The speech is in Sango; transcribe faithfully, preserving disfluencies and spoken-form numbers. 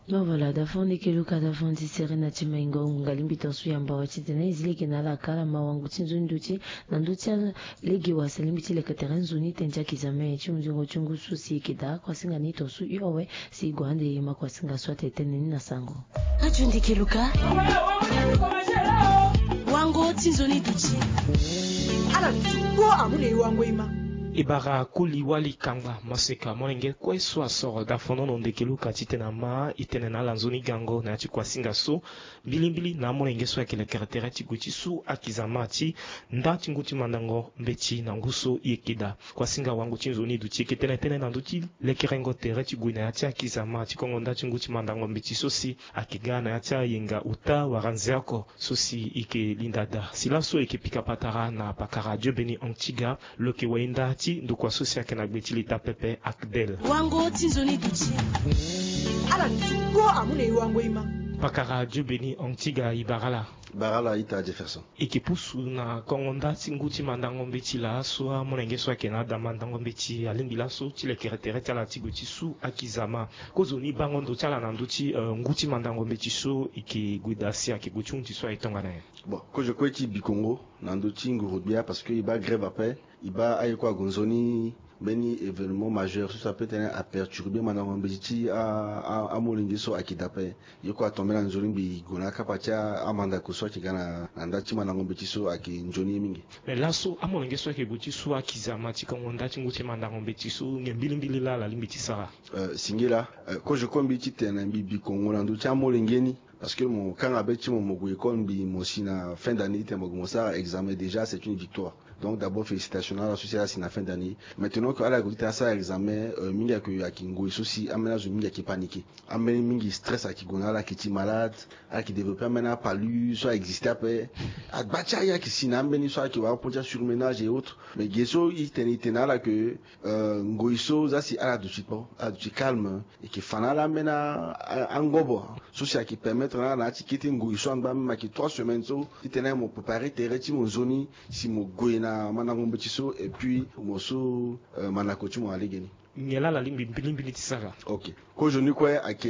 Bon, voilà, da fo ndeke luka da fo ndi sere na ti maingo ngunga lingbi tonso yamba wa ti tene e zi lege na ala kala ma wango ti nzoni duti na ndö ti lege wa si alingbi ti leke tere nzoni tene ti akizame ti hunzingo ti ngu so si e yeke daa kuasinga ni tonso hio awe. Si e gue ande e ma kuasinga so atene tënë ni na sango. Radio Ndeke Luka. Wango ti nzoni duti. Ala duti kpo amu na e wango e ma. E bara koli wali kangba maseka molenge kue so asoro da fonono ndeke luka titene ama e tene na ala nzoni gango na ya ti kuasinga so mbilimbili na amolenge so ayeke lekere tere ti gue ti su akizama ti nda ti ngu ti mandango mbeti na ngu so e yeke daa. Kuasinga wango ti nzoni duti e yeke tene tënë na ndö ti lekerengo tere ti gue na ya ti akizama ti kongo nda ti ngu ti mandango mbeti so si ayeke ga na ya ti ayenga ota wala nze oko so si e yeke linda daa. Si laso e yeke pika patara na pakara Dieu Béni Antiga, lo yeke wayenda ti ndokua so si ayeke na gbe ti leta pepe Akdel. Wango ti nzoni duti. Ala duti kpo amu na e wango e ma. Pakara Dieu Béni Antiga, e bara ala. Bara ala ita Jefferson. E yeke pusu na kongo nda ti ngu ti mandango mbeti laa so amolenge so ayeke na ada mandango mbeti alingbi laso ti lekere tere ti ala ti gue ti su akizama. Kozoni bango ndo ti ala na ndö ti, eh, ngu ti mandango mbeti so e yeke gue daa si ayeke gue ti hunzi so aye tongana nyen? Bon, kozo kue ti Bikongo na ndö ti nguru gbia parce que e baa grève ape, e baa aye kue ague nzoni mbeni événement majeur so si apeut tene aperturbe mandango mbeti ti a, a, amolenge so ayeke daa ape. Ye kue atombe na nzoni mbi gue na akapa ti a, amandako so ayeke ga na, na nda ti mandango mbeti so ayeke nzoni ye mingi. Mais laso amolenge so ayeke gue ti su akizama ti kongo nda ti ngu ti mandango mbeti so nyen mbilimbili laa ala lingbi ti sara? Euh, singila, euh, kozo kue mbi ti tene mbi Bikongo na ndö ti amolenge ni. Parce que mo kanga be ti mo, mo gue école mbi mo si na fin d'année ti tene mo gue mo sara examen, déjà c'est une victoire. Donc d'abord félicitations na ala so si ala si na fin d'année. Maintenant que ala gue ti tene asara examen, euh, mingi ayeke, ayeke ngoi so si ambeni azo mingi ayeke paniquer. Ambeni mingi stress ayeke gue na ala, ayeke ti malade, ala yeke développer ambeni apalu so a existe ape. Agba ti aye ayeke si na ambeni so ayeke wara pon ti asurmenage et autres. Mais ge so e tene e tene na ala ke, euh, ngoi so za si ala duti kpo, ala duti calme. E yeke fa na ala ambeni a, a, angobo so si ayeke permettre na ala na ya ti kete ngoi so angba même ayeke trois semaines so ti tene mo préparer tere ti mo nzoni si mo gue na mandango mbeti so et puis mo so, euh, mandako ti mo na legeni. Nyen laa ala lingbi mbilimbili ti sara? Ok. Kozo ni kue ayeke